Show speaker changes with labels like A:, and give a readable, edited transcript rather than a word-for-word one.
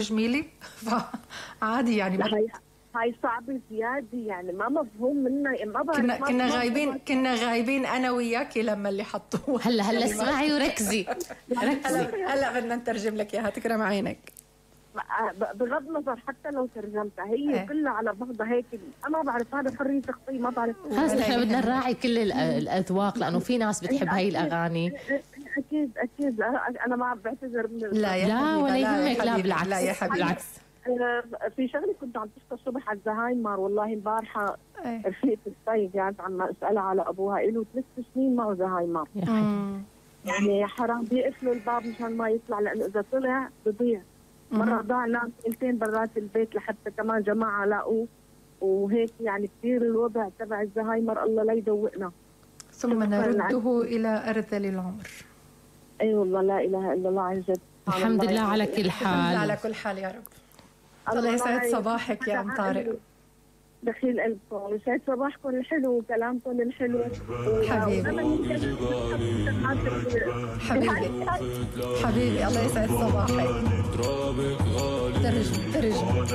A: جميلة فعادي يعني.
B: هاي صعبة زيادة يعني ما مفهوم منها. ما بعرف
A: كنا غايبين أنا وياكي لما اللي حطوه.
C: هلا اسمعي وركزي.
A: هلا بدنا نترجم لك إياها تكرم عينك.
B: بغض النظر حتى لو ترجمتها هي كلها على بعضها هيك. أنا ما بعرف هذا حرية تخطيط ما بعرف.
C: خلص نحن بدنا نراعي كل الأذواق لأنه في ناس بتحب هاي الأغاني.
B: أكيد أنا ما بعتذر من
C: لا ولا يهمك. لا بالعكس.
A: لا يا حبيبي بالعكس.
B: في شغله كنت عم تشتغل الصبح على الزهايمر والله امبارحه رفيقة الطيب قاعدة عم اسالها على ابوها له 3 سنين معه زهايمر. يعني حرام بيقفلوا الباب مشان ما يطلع لانه اذا طلع بضيع. مره ضاع نام ليلتين برات البيت لحتى كمان جماعه لاقوه وهيك يعني كثير الوضع تبع الزهايمر الله لا يدوقنا.
A: ثم نرده الى ارذل العمر.
B: اي والله لا اله الا الله عن جد.
C: الحمد لله على كل حال.
A: على كل حال يا رب. الله يسعد صباحك يا ام طارق.
B: دخيل قلبكم يسعد صباحكم الحلو وكلامكم الحلو.
A: حبيبي حبيبي الله يسعد صباحك. ترجم